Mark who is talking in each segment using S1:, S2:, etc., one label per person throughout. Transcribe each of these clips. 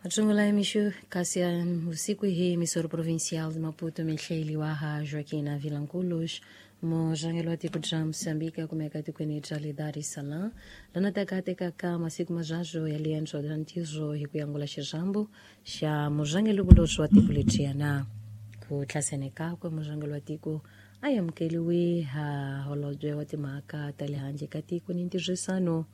S1: Matsungula mixo kasi ya usiku hii emissora provincial de Maputo mihleli ha Joaquina Vilanculos mujangelo wa tiko ja Moçambique kumeka tikweni ja le Dar es Salaam lana takatekaka masiku majajo ya liendzo ja ntirho hi ku yangula xirhambo xa mujangelo vuloxi wa tiko ledyiana ku tlhasene kakwe mujangelo wa tiko a amukeliwe ha holobye wa timhaka ta le handle ka tiko ni ntirhisano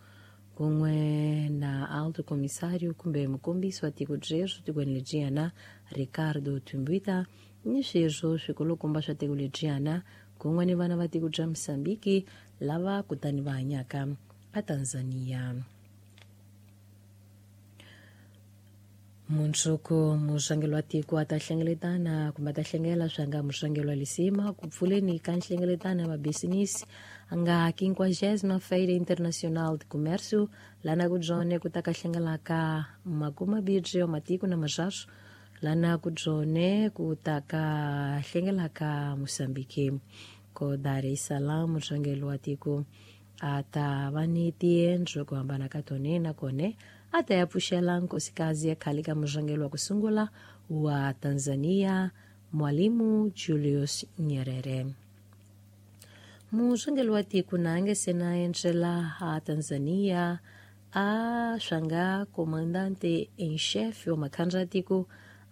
S1: kun'we na alto comissário kumbe mukombisi wa tiko byeswo tikweni lebyiyana Ricardo Tumbita ni sweswo swikulukumba swa tiko lebyiyana kun'we ni vana va tiko bya Mozambique lava kutani va hanyaka a Tanzania. Mundzuku muxangelo wa tiko a ta hlengeletana kumbe a ta hlengela swa nga muxangelo wa lisima ku pfuleni ka nhlengeletano ya mabisinisi a nga 50ª Feira Internacional de Comércio lana ku byone ku ta ka hlengelaka makumabibye wa matiko na maxaxo lana ku byone ku ta ka hlengelaka Moçambique ko Dar es Salaam muxangelo wa tiko a ta va ni tiendlo ku hambana ka tone nakone a ta ya pfuxela nkosikazi ya khale ka murhangeri wa ku sungula wa Tanzania Mwalimu Julius Nyerere. Murhangeri wa tiko na nge se na endzela a Tanzania a swanga comandante em chefe wa makhandla ya tiko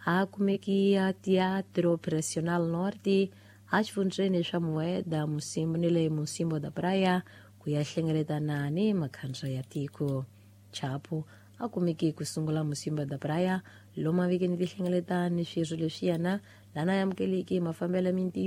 S1: a kumeki a Teatro Operacional Norte a xifundzheni swa Mueda Musimbo ni le Musimbo da Praia ku ya hlengeletana ni makhandla ya tiko. Chapo a kumeki ku sungula Musimba da Praia lomu a veke ni tihlengeletani swirho leswiyana lana amukeleki mafambelo ya mintirho.